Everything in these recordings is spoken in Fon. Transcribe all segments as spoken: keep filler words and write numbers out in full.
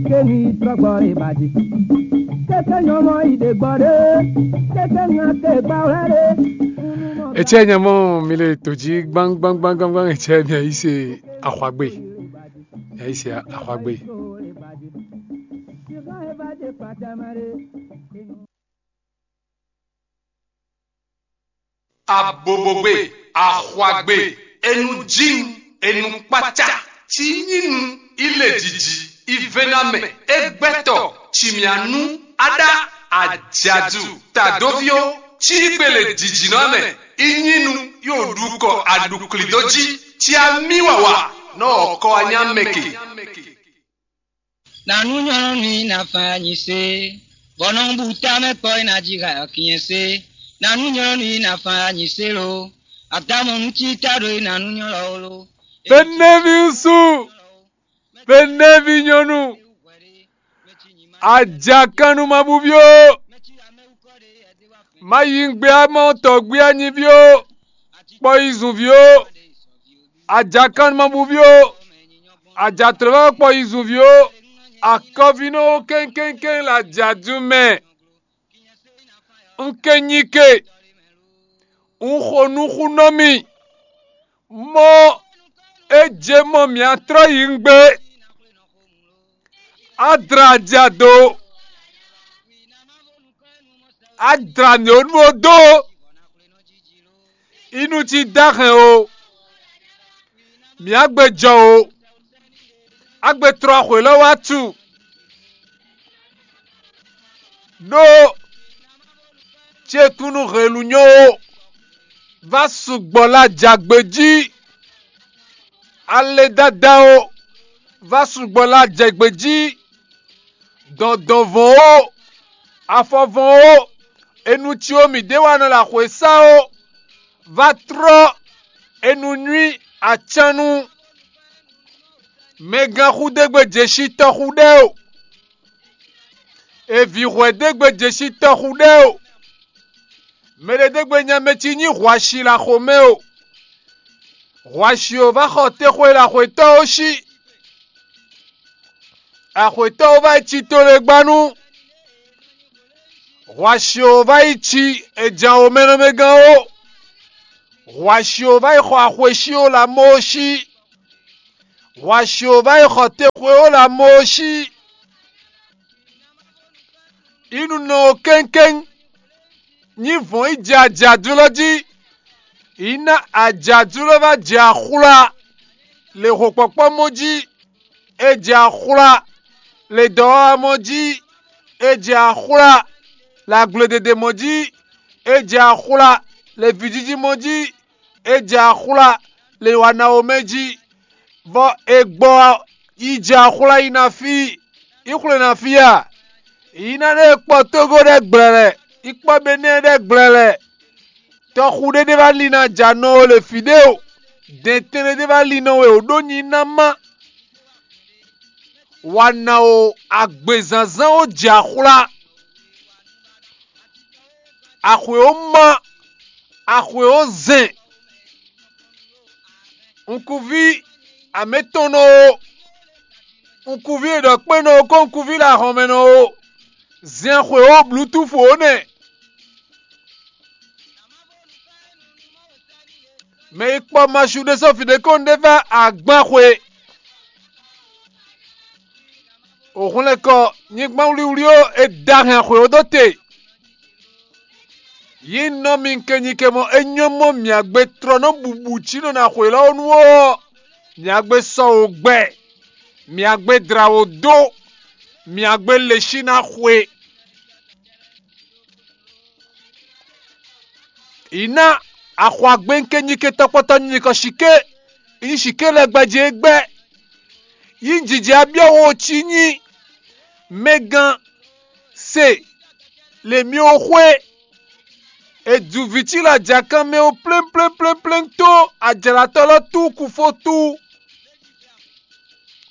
Keni trɔgbɔ e ba di. Keke nyɔmɔ yi de gbɔ de. Keke ŋa ke gba wla de. Etsɛ nyamɔ mi le to jí gbangbangbangbangbang, etsɛ mi ayi se axwagbe. Mi ayi se axwagbe. Abobogbe, axwagbe, enu jin, enu kpata, ci nyinu, ile jiji, ivenamɛ, egbɛtɔ, cimianu, ada, ajadu, tadoviwo, ci gbele jijinɔ mɛ, inyinu, yo ɖukɔ aɖuklido jí, ci ami wawa, nɔ ɔkɔ anyamɛke. Nanu nyɔnu ni na fa nyi se, bɔ nɔ bu tamɛ kpɔ e na ji ha kinyɛ se. Nanu nyɔnu ni na fa nyi se lo, atamɔ nu ci ta ɖo e nanu nyɔlɔ wo lo. Benevi ŋsu, benevi nyɔnu, ajakanu ma bu ví o, ma yi ngbé amɔ tɔgbé anyi ví o, kpɔ yi zun ví o, ajakanu ma bu ví o, ajatlɔ̌ kpɔ yi zun ví o, akɔvínɔ kɛ́nkɛ́nkɛ́n la jadu mɛ. Un ke nyi ke, un xo nú xú nɔ mì, mɔ é jɛ mɔ mǐ atrɔ́ yi ngbé. Adra ja do, adra nǔ e nú ó dó, inu cí dó ahɛn o, mǐ á gbe jɔ o, á gbe tlɔ axwě lɔ wá tu, ɖó ce kún nú hɛn lu nyɔ́ ó, vá sugbɔ lɔ ajǎgbe jí, ale dada ó, vá sugbɔ lɔ ajǎgbe jí, dɔ̌ndɔ́nvɔn ó, afɔvɔn ó, enu ci ó mǐ ɖe wa nɔ ɖo axwě sa ó, vá trɔ́ enu nywí acan nú mɛgán xú ɖé gbe jɛ sí tɔ́ xú ɖɛ́ o, èvǐ hwɛ̌ ɖé gbe jɛ sí tɔ́ xú ɖɛ́ o, mɛ ɖé ɖé gbe nya mɛ ci nyí hwashi ɖo axo mɛ o, hwashi ó vá xɔ texwe ɖo axwětɔ́ ó sí. Axwětɔ́ ó vá yi ci to ɖé gba nú hwashi ó vá yi ci è jǎn ó mɛ nɔ mɛ gán ó, hwashi ó vá yi xɔ axwesí ó lɔ amó ó sí, hwashi ó vá yi xɔ texwe ó lɔ amó ó sí. Ínú nɔ ó kɛ́nkɛ́n nyí vɔ̌n yi jɛ ajǎdúlɔ jí, yi ná ajǎdúlɔ vá jɛ axwlá le hokpɔkpɔ́ mɔ jí, é jɛ axwlá le dɔ̌wamɔ jí, é jɛ axwlá le agbledede mɔ jí, é jɛ axwlá le vǐjíjí mɔ jí, é jɛ axwlá le wanawomɛ jí, vɔ è gbɔ yi jɛ axwlá yi ná fí, yi xwlé ná fí a? Yi ná ɖe kpɔ Tógó ɖɛ́ gblɛlɛ, yi kpɔ Benɛ́ɛ ɖɛ́ gblɛlɛ. Tɔxu ɖé ɖé vá lin ná jɛ anɔ we le fǐ ɖé o, dɛ̌ntɛn ɖé ɖé vá lin nɔ we o ɖó nyi ná má. Wa ná o agbězánzán ó jɛ axwlá, axwě ó má, axwě ó zɛn, unkuví amɛ̌tɔnnɔ ó, unkuví e ɖɔ kpé nɔ ó kó unkuví ɖo ahɔn mɛ nɔ ó, zɛn axwě ó blǔtúfu ó nɛ́. Mɛ yi kpɔ masu ɖé sɔ́ fǐ ɖé kɔn ɖé vá agban xwe. Òhun lɛ́ kɔ nyigban wlíwlí ó, è da hɛn xwě ó dó te. Yi nɔ mi kɛnyi kɛ mɔ é nyɔ́ mɔ mǐagbe tlɔ́ nɔ bubu cí nɔ na xwě lɔ ó nú ó, mǐagbe sɔ wǒ gbɛ, mǐagbe dla wǒ dó, mǐagbe le sí ná xwe. Yi ná axwagbɛ́nkɛ́ nyí ke tɔkpɔtɔ nyí nyikɔ shike, yi nyí shike lɛ́ɛ gbɛjí é gbɛ́. Yi jijɛ abyɔ́ wo cí nyí mɛgán se le mí ó xwé. È ju vǐ cí lɔ ajǎkan mɛ ó plémpléplémplém tó ajlǎtɔ́ lɔ tú kufó tú.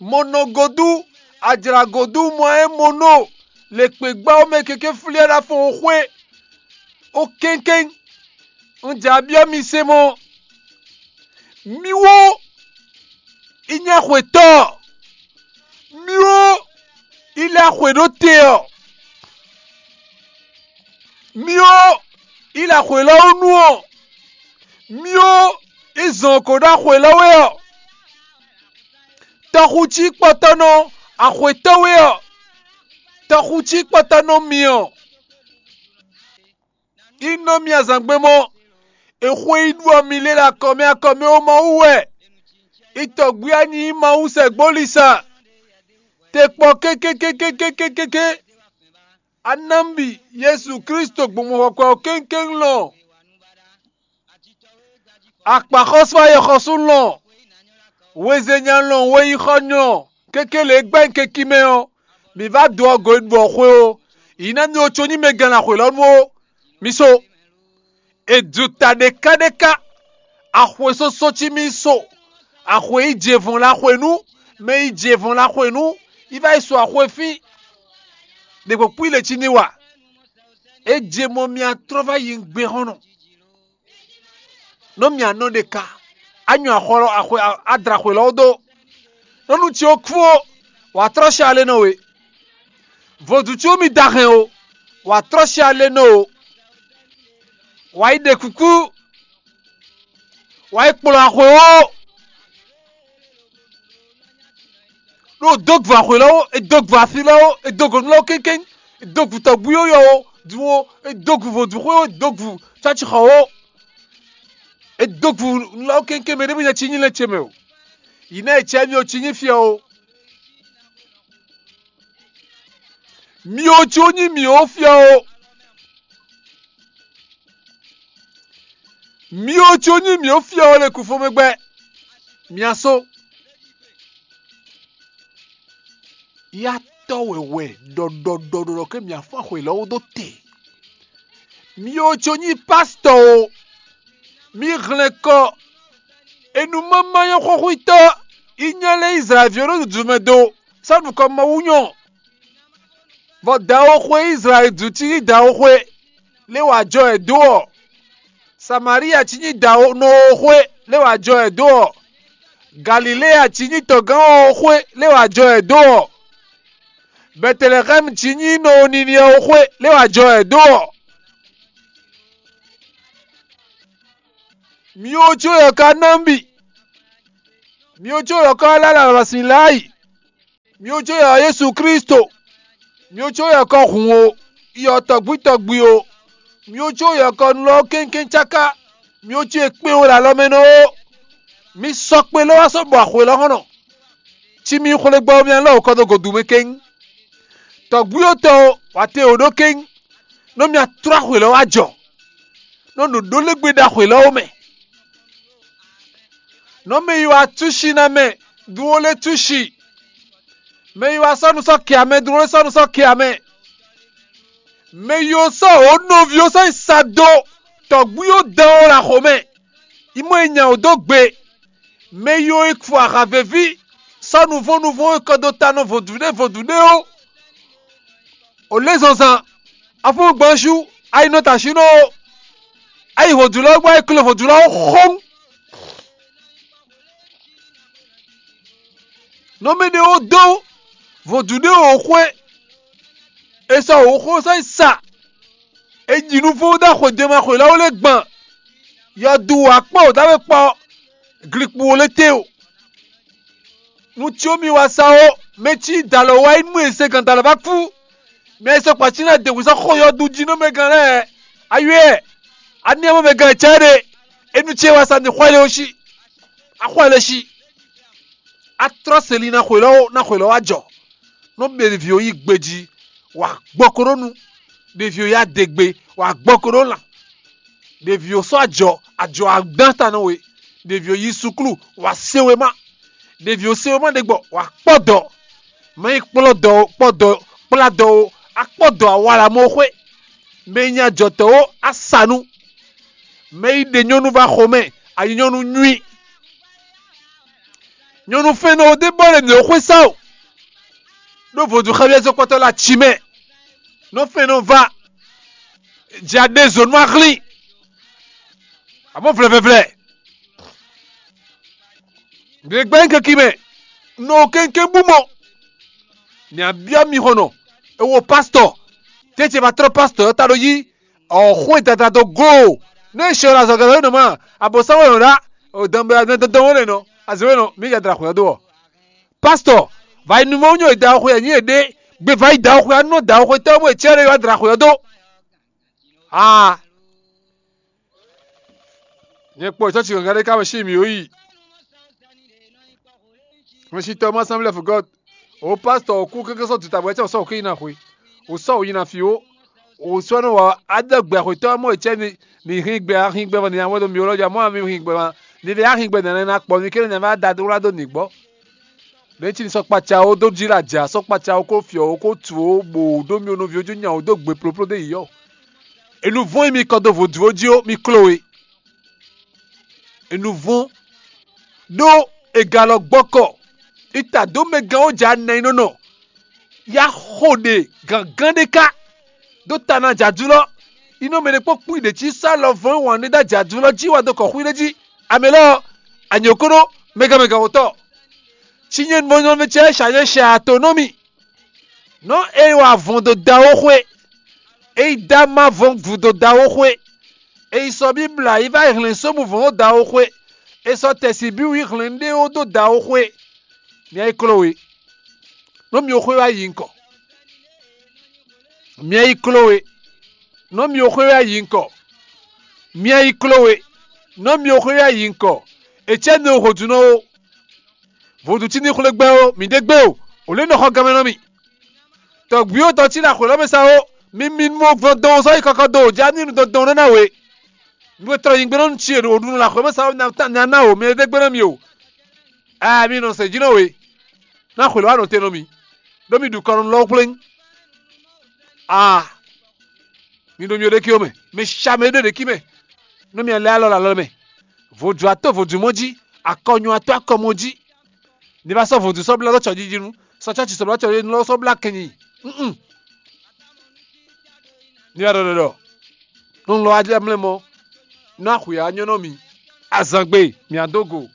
Mo nɔ godú, ajlǎ godú mɔ é mo nɔ le kpěgbá ó mɛ keke flí ɛ ɖo afɔn xwé ó kɛ́nkɛ́n. Un jɛ abyɔ́ mi se mɔ, mì wó, i nyí axwetɔ́, mì wó, Axwe ɖó te ɔ́, mì ó, yi lɛ axwe lɔ wú nu ɔ́, mì ó, yi zɔn ko ɖó axwe lɔ wɛ ɔ́, tɔxu cí kpɔtɔ́ nɔ axwetɔ́ wɛ ɔ́, tɔxu cí kpɔtɔ́ nɔ mì ɔ́, yi nɔ mì azǎngbé mɔ, è xwe yi ɖu ɔ mì lě ɖo akɔ mɛ akɔ mɛ ó Mawu wɛ, yi tɔgwí anyí Mawu sɛgbólisa, te kpɔ kékékékékékéké. Anámbi Jezu Kristo gbɔn mɔxɔkɔ ɔ́ kéŋkéŋ lɔn, akpǎxɔ́sú ayɔxɔsú lɔn, wezenya lɔn, weyixɔ lɔn, kéké lě gbɛ́ keki mɛ ɔ́, mǐ vá do ɔ́ go e ɖu ɔ́ xwé ó. Yi ná mi ó có nyí mɛ gǎn axwe lɔ nu ó. Mi so, è ju ta ɖékáɖéká, axwe sósó cí mì so, axwe yi jevɔn la xwe nú, mɛ yi jevɔn la xwe nú, yi vá yi so axwe fín, ɖě kpɔ́kpɔ́ yi le cí ní wa. É je mɔ mì atlɔ́ vá yi gbé hɔn nɔ. Nɔ mì anɔ ɖe ka, anyɔ axɔlɔ axwe adra xwe lɔ dó. Nɔnu ce ó kú ó, wǎ trɔ́ sha lé nɔ we. Vodún ce ó mi da hɛn o, wǎ trɔ́ sha lé nɔ o. Wǎ yi ɖe kúkú, wǎ yi kplɔ́n axwe ó. Ɖó dó gvu axwe lɔ ó, è dó gvu asi lɔ ó, è dó gǒ lɔ ó kéŋkéŋ, è dó gvu tɔgbú yɔ́yɔ́ ó, dun ó, è dó gvu vodúnxwe ó, è dó gvu cɔ́cixɔ ó, è dó gvu lɔ ó kéŋkéŋ, mɛ ɖé mɛ nya cí nyí lɛ́ ce mɛ o. Yi ná è cɛ mì ó cí nyí fiɔ ó. Mi ó cí ó nyí mì ó fiɔ ó. Mi ó cí ó nyí mì ó fiɔ ó le kúfomɛgbɛ. Mia só. Yatɔ́ wɛwɛ ɖɔɖɔɖɔɖɔ ke mia fɔ́n xwe lɔ́ wú dó te. Mi ó có nyí pásítɔ o, mi hlɛn kɔ enumama nyɔ́xɔ́xwítɔ́ yi nya lɛ́ Izlayɛ́li ví ɔ́ ɖo dǔdú mɛ dó sɔ́ nukɔn Mawu nyɔ. Vɔ dǎwe xwe Izlayɛ́li jí cí nyí dǎwe xwe lé wǎ jɔ ɛ dó ɔ́, Samalíya cí nyí dǎwe nɔ xwe lé wǎ jɔ ɛ dó ɔ́, Galilée cí nyí tɔgán ɔ́ xwé lé wǎ jɔ ɛ dó ɔ́, Bɛtelɛxɛ́mu cí nyí nɔ Niniwɛ ɔ́ xwé lé wǎ jɔ ɛ dó ɔ́. Mi ó có yɔ ka ná mì, mi ó có yɔ ka lá lǎlǎsin láyi, mi ó có yɔ Jezu Kristo, mi ó có yɔ kɔ hun o, yɔ tɔgbí tɔgbí o, mi ó có yɔ kɔ nulɔ kéŋkéŋ cáká, mi ó có e kpɛ́n o ɖo alɔ mɛ nɔ ó. Mi sɔkpe lɔ wá sɔ́ bɔ axwe lɔ hɔn nɔ. Cí mi xwlé gbɔ mì alɔ kɔ dó godu mɛ kéŋ. Tɔgbí ó tɔ o, wǎ te o ɖó kéŋ. Nɔ mì atrɔ axwe lɔ wá jɔ. Nɔ ɖo ɖó lé gbe ɖo axwe lɔ ó mɛ. Nɔ mɛ yi wá túsi ná mɛ, dun ó lé túsi. Mɛ yi wá sɔ́ nu sɔ́ kɛ amɛ, dun ó lé sɔ́ nu sɔ́ kɛ amɛ. Mɛ yi ó sɔ́ ó nɔví ó sɔ́ yi sa dó tɔgbí ó dán ó ɖo axo mɛ. Yi mɔ yi nya ó dó gbe. Mɛ yi ó yi fo aha veví sɔ́ nuvɔ́n nuvɔ́n e kɔ dó ta nɔ vodúɖé vodúɖé ó. O lé zɔnzan, afúngbɔ́nṣú, a yi nɔ ta sínɔ ó. A yi vodúlɔ gbɔ, a yi klo vodúlɔ ó xóŋ. Nɔ mɛ ɖé ó dó vodúɖé ó xwé. E sɔ wǒ xó sɔ́ yi sa. E ji nuvɔ́n dó axwe jɛmɛ axwe lɛ́ɛ ó lɛ́ gban. Yɔdu wǎ kpɔ́ wǒ dó we kpɔ́, glikpo ó lɛ́ te o. Nu cí ó mi wá sa ó, mɛ cí dalɔ wá yi nú e se gǎn dalɔ vá kú. Mɛ e sɔkpa cí ná de wǐ sɔ́ xɔ yɔdu jí nú mɛ gán lɛ́ɛ. Aywɛ́, aniamɔ mɛ gán cɛ́ ɖe. Enu ce wá sa ní xwɛ lé ó sí. Axwɛ lé sí. Atrɔ́ seli ná xwe lɔ́ ná xwe lɔ́ wá jɔ. Nɔ mɛ ɖevi ó yí gbejí, wǎ gbɔ ko ɖó nu. Ɖevi ó yá de gbe, wǎ gbɔ ko ɖó lan. Ɖevi ó sɔ́ ajɔ, ajɔ adán ta nɔ we. Ɖevi ó yí suklu, wǎ se wema. Ɖevi ó se wema ɖe gbɔ, wǎ kpɔ́ dɔ. Mɛ yi kplɔ́ dɔ ó, kpɔ́ dɔ, kplá dɔ ó, akpɔ́ dɔ awalamoxwé. Mɛ yi nyi ajɔtɔ́ ó, asanu. Mɛ yi ɖe nyɔ́nu vá xomɛ, ayi nyɔ́nu nyui. Nyɔ̌nu fɛ́nnɔ ɔ́ ɖe bɔ lɛ mǐ xwé sá o, ɖó vodún xɛ́byɛ́ zɔ́nkpɔ́tɔ́ lɛ́ɛ aci mɛ. Nɔ fɛ́nnɔ va, jɛ aɖé zǒ nú ahlín, abó vlɛvlɛvlɛ. Ɖě gbɛ́ nyí kɛ́kí mɛ, nɔ kéŋkéŋ bú mɔ. Mǐ byɔ́ mi xɔnɔ, E wo pastɔ. Tɛ́ ce ma tlɔ́ pastɔ ɔ́ ta ɖó yí ɔ̀xó e dada dó glo. Nú e sɛ ɔ́ azɔ̌ gɛ́ nɔ ma, abǒsánwó nɔ ɖá, dɔnbɛ dɔnbɛ nɔ, azɔ̌ nɔ, mǐ ya dra xwǐ ɔ́ dó ɔ́. Pastɔ, vayi numɔ nyɔ e da xwe anyí e ɖe, gbe vayi da xwe anú da xwe tɔ́ mɔ e cɛ ɖe wá dra xwe ɔ́ dó. Aa. Nyɛ kpɔ ìtɔ́ ci gǎngán ɖé ká mɛ sí mǐ ó yi. Mɛ sí tɔ́ má sánmí lɛ́ fɔ gɔ́. O pásítọ̀ ɔ́ kú kéké sɔ́ duta bɔ é cɛ sɔ́ òkè yi na xwe. O sɔ́ òyi na fi ó. O sɔ́ nɔ wɔ adɔgbɛ xwetɔ́ mɔ è cɛ ni ni hín gbɛ ahín gbɛ vɔ ni awɛ ɖo mi ó lɔ ja mɔ ami hín gbɛ ma. Ni lɛ ahín gbɛ nɛnɛ na kpɔ mi kéré nɛ va da dó wlá dó nǐ gbɔ. Ɖě cí ni sɔ́ kpaca ó dó jí la ja sɔ́ kpaca ó kó fiɔ ó kó tu ó bò dó mi ó nɔví ó jí nya ó dó gbe plópló dó yi yɔ. Enu vɔ́n e mi kɔ dó vodú ó jí ó, mi kló we. Enu vɔ́n ɖó è galɔ gbɔ́kɔ. Ita dó mɛ gán ó ja nɛ e nɔ nɔ. Ya xo ɖe gǎngán ɖé ká dó ta ná jǎdulɔ. Inɔ mɛ ɖé kpó kpú ɖě cí sá lɔ vɔ́n wǎn ɖé dó ajǎdulɔ jí wá dó kɔ xwí ɖé jí. Amɛ lɔ anyǒkónó mɛgán mɛgán wǒtɔ. Cí nyɛ mɔnyɔmɛ cɛ ṣǎ nyɛ ṣɛ ato nɔ mì. Nɔ e wa vɔn dó da ó xwé. E yi dá má vɔn vǔ dó da ó xwé. E yi sɔ́ bí bla yi va yi hlɛ̌n sómu vɔn ó da ó xwé. E sɔ́ tɛ̌síbíwú yi hlɛ̌n ɖé ó dó da ó xwé. Mi ayí kló we. Nɔ mi xwé wá yi ŋkɔ. Mi ayí kló we. Nɔ mi xwé wá yi ŋkɔ. Mi ayí kló we. Nɔ mi xwé wá yi ŋkɔ. Ecɛ́ nɔ hǒdunɔ ó. Vodun cí ní xwlé gbɛ́ ó, mǐ ɖe gbé o, ò lě nɔ xɔ ganmɛ nɔ mì. Tɔ̌gbíwó tɔn cí ɖo axwě lɔ́ mɛ sa ó, mi mi mɔ gbɔn dɔn sɔ́ yi kɔkɔ dó, já ní nu dɔn dɔn nɔ ná we. Nú e tlɔ nyi gbé nɔ nu cí e ɖo ɖu nɔ axwě mɛ sa ó, nya ná o, mi ɖe gbé nɔ mi o. Aa mi nɔ sɛ jí nɔ we. Ná xwě lɔ́ wá nɔ te nɔ mi, ɖó mi ɖu kɔ nɔ lɔ́ xwlé. Aa mi ɖo mi ɖékí mɛ, mi sa mɛ ɖo ɖékí mɛ, nú mi lɛ́ alɔ alɔ mɛ. Vodun ató vodun mɔ jí, akɔnyɔ ató akɔ mɔ jí. Ní va sɔ́ vodun sɔ́ blá lɔ́ cɔ́jijinu, sɔ́ cɔ́ci sɔ́ blá cɔ́jijinu lɔ́ sɔ́ blá kɛnyi. Mm-mm. Ní va ɖɔ ɖɔ ɖɔ. Nú lɔ adé mlɛ mɔ, nú axwǐ anyɔ́ nɔ mi. Azangbe, mǐ adó go.